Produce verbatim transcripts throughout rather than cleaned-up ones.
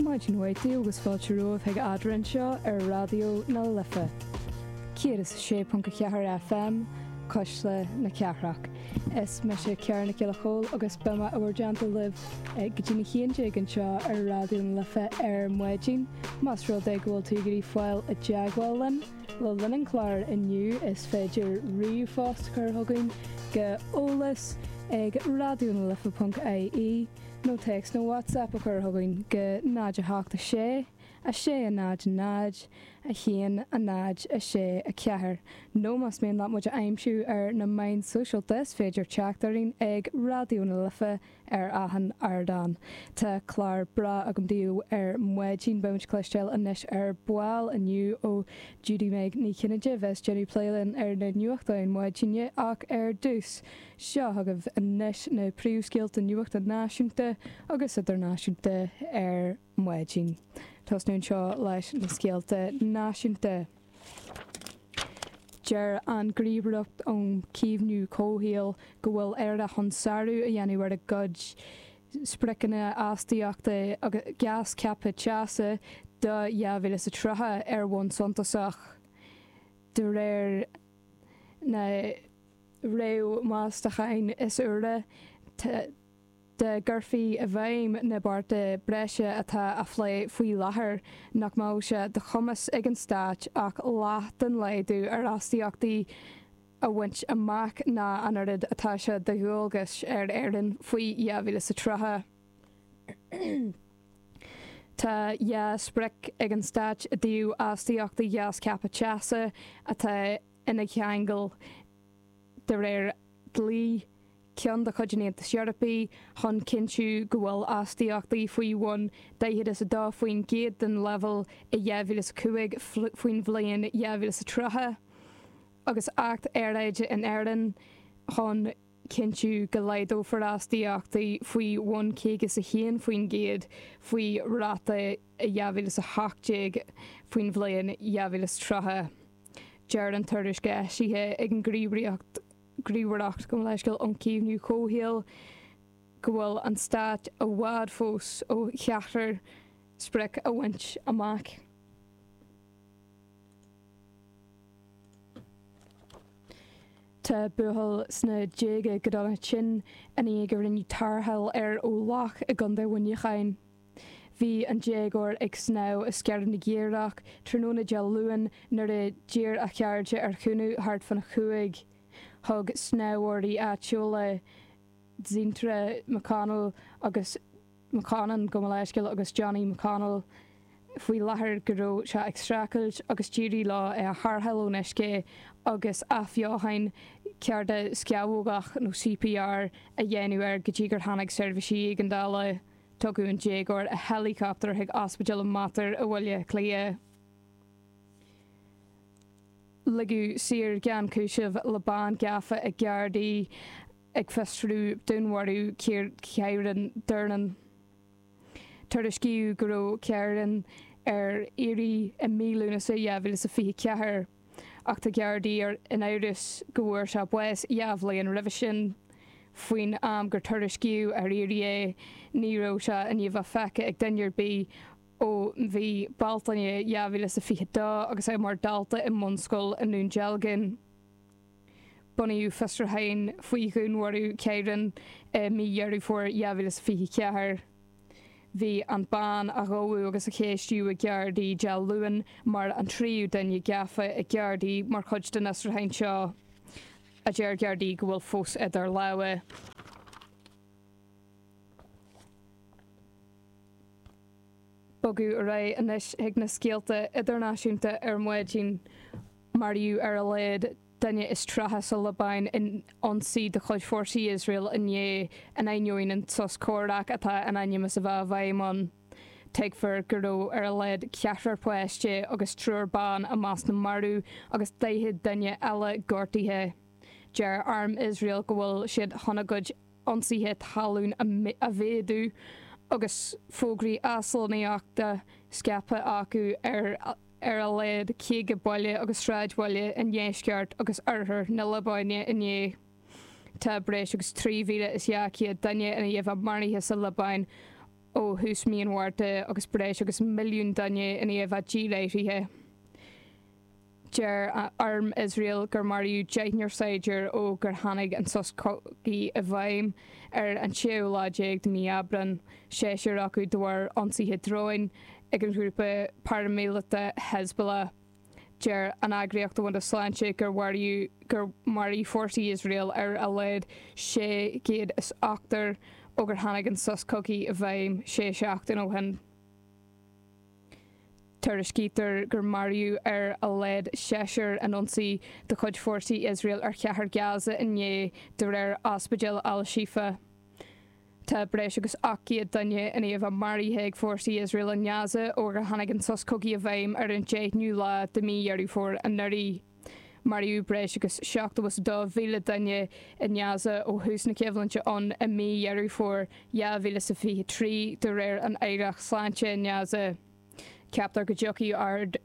Maidin mhaith daoibh agus fáilte romhaibh chuig Eadrainn anseo ar Raidió na Life. Céad is a sé ponc a ceathair FM, Cuisle na Cathrach. Is mise Ciara Nic Giolla Chóill agus beidh mé i bhur dteannta libh go dtí a haon déag anseo ar Raidió na Life ar maidin. Más rud é go bhfuil tú ag iarraidh fáil i dteagmháil linn le linn an chláir inniu is féidir ríomhphost a chur chugainn go eolas ag raidionalife.ie nó téacs nó WhatsApp a chur chugainn go náid a hocht a sé, a sé a náid náid, a haon a náid a sé a ceathair. Nó más mian leat muid a aimsiú ar na meáin sóisialta is féidir teacht orainn ag Raidió na Life ar achan ardán. Tá clár breá agam daoibh ar maidin beimid ag cloisteáil anois ar ball inniu ó Judy Meg Ní Chinnéide bheas ag déanamh plé linn ar na nuachtáin maidine ach ar dtús. Seo chugaibh anois na príomhscéalta nuachta náisiúnta agus idirnáisiúnta ar maidin. Tosnú anseo leis na scéalta náisiúnta. Deir an Ghníomhaireacht um Chaomhnú Comhshaoil go bhfuil Éire chun sárú a dhéanamh ar a gcuid spriocanna astaíochta agus gás ceaptha teasa do dhá mhíle is tríocha ar bhonn suntasach. De réir na réamh-mheastachán is úire, dá gcuirfí i bhfeidhm na bearta breise atá á phlé faoi láthair, nach mbeadh sé de chumas ag an stát ach leath den laghdú ar astaíochtaí a bhaint amach ná an oiread atá sé de dhualgas ar Éirinn faoi dhá mhíle is tríocha. Tá dhá sprioc ag an stát i dtaobh astaíochtaí gás ceaptha teasa atá ina cheangal de réir dlí, ceann de chuid an Aontais Eorpaigh, chun cinntiú go bhfuil astaíochtaí faoi bhun daichead is a dó faoin gcéad den leibhéal i dhá mhíle is a cúig faoin bhliain dhá mhíle is tríocha, agus Acht Aeráide in Éirinn chun cinntiú go laghdófar astaíochtaí faoi bhun caoga is a haon faoin gcéad faoi ráta i dhá mhíle is a hocht déag faoin bhliain dhá mhíle is tríocha. Deir an tuairisc eisithe ag an nGníomhaireacht Gníomhaireacht gabh mo leithscéal um Chaomhnú Comhshaoil go bhfuil an stát i bhfad fós ó cheachtar sprioc a bhaint amach. Tá buachaill sna déaga go dona tinn i ndiaidh go rinneadh tarrtháil air ó loch i gContae Mhuineacháin. Bhí an déagóir ag snámh i Sceir na gCaorach tráthnóna Dé Luain nuair a d'iarr a chairde ar chúnamh thart fána chúig. Thug snámhóirí áitiúla Dzintra McConnell agus McConnon, gabh mo leithscéal, agus Johnny McConnell faoi láthair go raibh sé ag streachailt agus d'éirigh leo é a tharrtháil ón uisce agus athbheochan cardascamhógach nó CPR a dhéanamh air go dtí gur tháinig seirbhísí éigeandála. Tugadh an déagóir i héileacaptar chuig Ospidéal Mater i mBaile Átha Cliath. Ligeadh saor gan chúiseamh le bean gafa ag Gardaí ag fiosrú dúnmharú Kyran Durnin. Tuairiscíodh go raibh Kyran ar iarraidh i mí Lúnasa dhá mhíle is a fiche ceathair ach tá Gardaí in amhras go bhfuair sé bás dhá bhliain roimhe sin. Faoin am gur tuairiscíodh ar iarraidh é, ní raibh sé i ndiaidh a bheith feicthe ag duine ar bith ó mhí Bealtaine dhá mhíle is a fiche dó agus é mar dhalta i mbunscoil i nDún Dealgan. Bunaíodh fiosrúchán faoi dhúnmharú Kyran i mí Dheireadh Fómhair dhá mhíle is a fiche ceathair. Bhí an bean a gabhadh agus a ceistíodh ag Gardaí Dé Luain mar an tríú duine gafa ag Gardaí mar chuid den fhiosrúchán seo, a deir Gardaí go bhfuil fós idir lámha. Bogadh ar aghaidh anois chuig na scéalta idirnáisiúnta ar maidin. Maraíodh ar a laghad duine is tríocha sa Liobáin in ionsaí de chuid fórsaí Iosrael inné, in ainneoin an sos comhraic atá in ainm is a bheith i bhfeidhm ann. Tuigtear go raibh ar a laghad ceathrar páiste agus triúr ban i measc na marbh agus daichead duine eile gortaithe. Deir arm Iosrael go bhfuil siad chun a gcuid ionsaithe talún a mhéadú agus fógraí aslonnaíochta scaipthe acu ar ar a laghad caoga baile agus sráidbhaile i ndeisceart agus oirthear na Liobáine inné. Tá breis agus trí mhíle is dhá chéad duine i ndiaidh a bheith maraithe sa Liobáin ó thús mí an Mhárta agus breis agus milliún duine i ndiaidh a bheith díláithrithe. Deir arm Iosrael gur maraíodh deichniúr saighdiúir ó gur tháinig an sos cogaidh i bhfeidhm ar an séú lá déag de mhí Aibreáin, seisear acu de bharr ionsaithe dróin ag an ghrúpa paraimíleata Hezbollah. Deir an Eagraíocht Domhanda Sláinte gur mharaigh gur mharaigh fórsaí Iosrael ar a laghad sé chéad is ochtar ó gur tháinig an sos cogaidh i bhfeidhm sé seachtain ó shin. Tuairiscítear gur maraíodh ar a laghad seisear in ionsaí de chuid fórsaí Iosrael ar chathair Gaza inné, de réir Ospidéal Al-Shifa. Tá breis agus ocht gcéad duine i ndiaidh a bheith maraithe ag fórsaí Iosrael i nGaza ó gur tháinig an sos cogaidh i bhfeidhm ar an deichiú lá de mhí Dheireadh Fómhair anuraidh. Maraíodh breis agus seachtó is a dó mhíle duine i nGaza ó thús na coimhlinte ann i mí Dheireadh Fómhair dhá mhíle is a fiche trí, de réir an Aireacht Sláinte i nGaza. Ceaptar go dtiocfaidh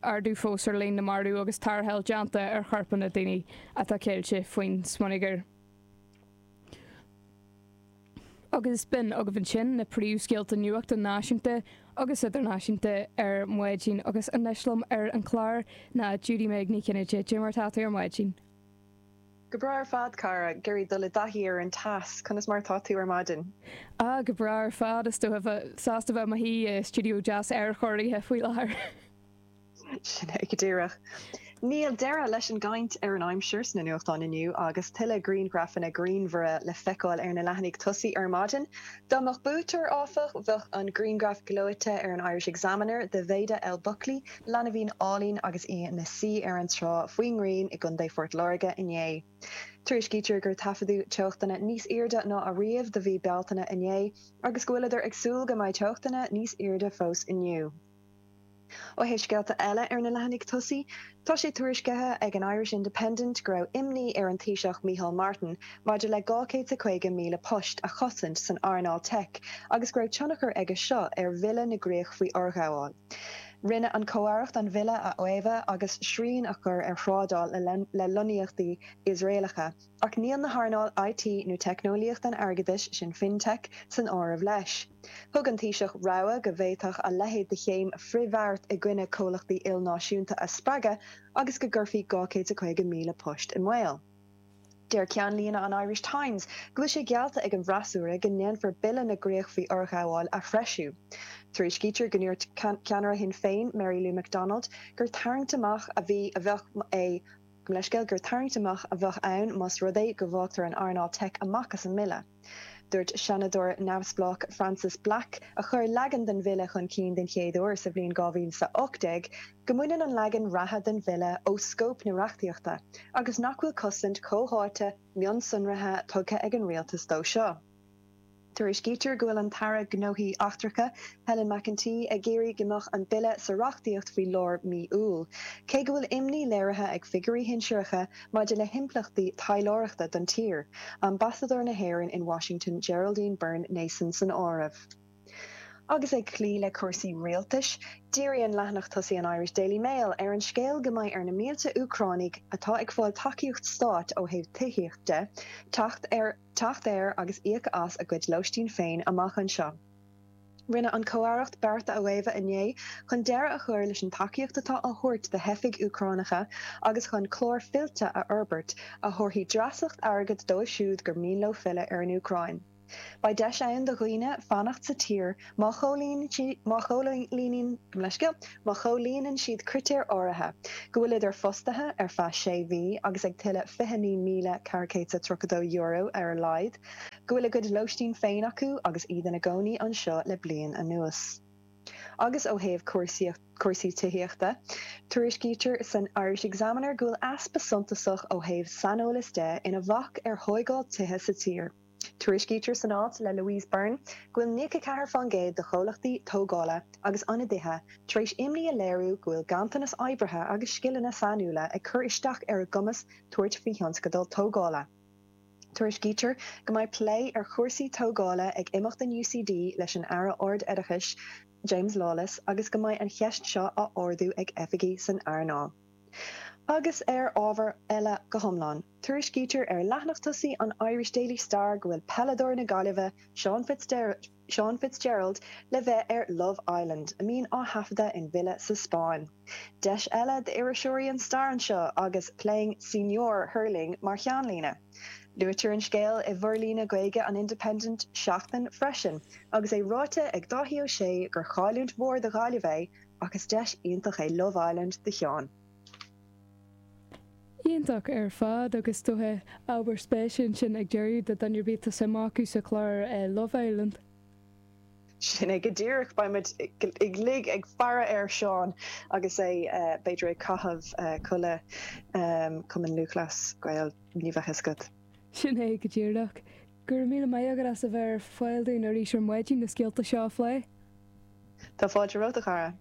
ardú fós ar líon na marbh agus tarrtháil déanta ar chorpanna daoine atá ceilte faoin smionagar. Agus b'in agaibh ansin na príomhscéalta nuachta náisiúnta agus idirnáisiúnta ar maidin agus anois liom ar an chlár ná Judy Meg Ní Chinnéide. Cad é mar atá tú ar maidin? Go breá ar fad, cara. Ag iarraidh dul i dtaithí ar an teas. Conas mar atá tú ar maidin? Ah, go breá ar fad. Is dócha bheith sásta bheith i mo shuí i stiúideo deas aerchóirithe faoi láthair. Sin é go díreach. Níl deireadh leis an gcaint ar an aimsir sna nuachtáin inniu agus tuilleadh grianghrafanna grianmhara le feiceáil ar na leathanaigh tosaigh ar maidin. Dá mbeadh buaiteoir, áfach, bheadh an grianghraf gleoite ar an Irish Examiner de Mhaida Elle Buckley, leanbhín álainn agus í ina suí ar an trá faoin ngrian i gContae Phort Láirge inné. Tuairiscítear gur taifeadadh teochtanna níos airde ná ariamh do mhí Bealtaine inné agus go bhfuileadar ag súil go mbeidh teochtanna níos airde fós inniu. Ó thaobh scéalta eile ar na leathanaigh tosaigh, tá sé tuairiscithe ag an Irish Independent go raibh imní ar an Taoiseach Micheál Martin maidir le dhá chéad is caoga míle post a chosaint san earnáil teic agus go raibh tionchar aige seo ar Bhille na gCríoch faoi Fhorghabháil. Rinne an Chomh-Aireacht an bille a fhaomhadh agus srian a chur ar thrádáil le lonnaíochtaí Iosraelacha. Ach níl na hearnáil I T nó teicneolaíocht an airgeadais, sin FinTech, san áireamh leis. Thug an Taoiseach rabhadh go bhféadfadh a leithéid de chéim frithbheart i gcoinne comhlachtaí ilnáisiúnta a spreagadh agus go gcuirfí dhá chéad is caoga míle post i mbaol. Deir ceannlíne an Irish Times go bhfuil sé geallta ag an bhfreasúra go ndéanfar Bille na gCríoch faoi Fhorghabháil a threisiú. Tuairiscítear go ndúirt ceannaire Shinn Féin, Mary Lou McDonald, gur tarraingt amach a bhí a bheadh é leithscéal gur tarraingt amach a bheadh ann más rud é go bhfágtar an earnáil teic amach as an mbille. Dúirt Seanadóir neamhspleách Frances Black, a chuir leagan den bhille chun cinn den chéad uair sa bhliain dhá mhíle is a hocht déag, go mbaineann an leagan reatha den bhille ó scóip na reachtaíochta agus nach bhfuil cosaint chomhtháite mionsonraithe tugtha ag an rialtas dó seo. Tuairiscítear go bhfuil an tAire Gnóthaí Eachtracha, Helen McEntee, ag iarraidh go mbeadh an bille sa reachtaíocht faoi lár mí Iúil, cé go bhfuil imní léirithe ag figiúirí shinsearacha maidir le himpleachtaí taidhleoireachta don tír, Ambasadóir na hÉireann in Washington Geraldine Byrne Nason san áireamh. Agus ag cloí le cúrsaí rialtais, díríonn leathanach tosaigh an Irish Daily Mail ar an scéal go mbeidh ar na mílte Úcránaigh atá ag fáil tacaíocht stáit ó thaobh tithíocht de, teacht ar teacht ar agus íoc as a gcuid lóistín féin amach anseo. Rinne an Chomh-Aireacht bearta a fhaomhadh inné chun deireadh a chur leis an tacaíocht atá á thabhairt do theifigh Úcránacha agus chun clár fillte a fhorbairt a thabharfaidh dreasacht airgid dóibh siúd gur mian leo filleadh ar an Úcráin. Beidh deis ann do dhaoine fanacht sa tír má chomhlíonann siad critéir áirithe, go bhfuileadar fostaithe ar feadh sé mhí agus ag tuilleamh fiche naoi míle ceathair chéad is tríocha dó euro ar a laghad, go bhfuil a gcuid lóistín féin acu agus iad ina gcónaí anseo le bliain anuas. Agus ó thaobh cúrsaí tithíochta, tuairiscítear san Irish Examiner go bhfuil easpa suntasach ó thaobh saineolas de ina bhac ar thóigáil tithe sa tír. Tuairiscítear san alt le Louise Byrne go bhfuil nócha ceathair faoin gcéad de chomhlachtaí tógála agus ionadaithe tar éis imní a léiriú go bhfuil ganntanas oibrithe agus scileanna sainiúla ag cur isteach ar a gcumas tabhairt faoi thionscadail tógála. Tuairiscítear go mbeidh plé ar chúrsaí tógála ag imeacht in U C D leis an Aire Ard-Oideachais James Lawless agus go mbeidh an cheist seo á ardú ag oifigigh san earnáil. Agus ar ábhar eile go hiomlán, tuairiscítear ar leathanach tosaigh an Irish Daily Star go bhfuil peileadóir na Gaillimhe, Seán Seán Fitzgerald le bheith ar Love Island, a mbíonn á thaifeadadh in villa sa Spáinn. Deis eile d'iriseoirí an Star anseo agus Playing Senior Hurling mar cheannlíne. Luaitear an scéal i bhforlíonadh Gaeilge an Independent Seachtain freisin, agus é ráite ag Dáithí Ó Sé gur chailliúint mhór do Ghaillimh é ach is deis iontach é Love Island do Sheán. Iontach ar fad agus dócha ábhar spéise sin ag deireadh do dhuine ar bith atá suim acu sa chlár eh, Love Island. Sin é go díreach beimid uilig ag faire ar Seán agus é eh, b'fhéidir ag caitheamh eh, culaith um, Cumann Lúthchleas Gael ní bheadh a fhios agat. Sin é go díreach. Gur míle maith agat as a bheith ar fáil dúinn arís ar maidin na scéalta seo a phlé. Tá fáilte romhat a chara.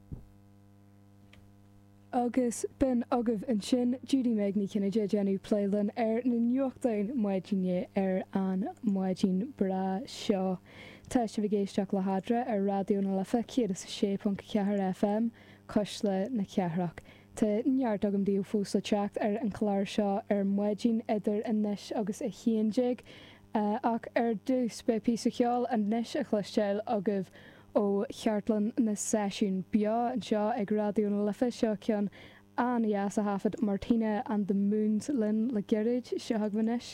Agus b'in agaibh ansin Judy Meg Ní Chinnéide déanamh plé linn ar na nuachtáin maidine ar an maidin breá seo. Tá sibh ag éisteacht le hEadra ar Raidió na Life céad is a sé ponc ceathair FM Cuisle na Cathrach. Tá neart agam daoibh fós le teacht ar an chlár seo ar maidin idir anois agus a haon déag, ach ar dtús beidh píosa ceoil anois a chloisteáil agaibh ó chartlann na seisiún beo anseo ag Raidió na Life seo ceann an-dheas a thaifead Martina and the Moons linn le gairid seo agaibh anois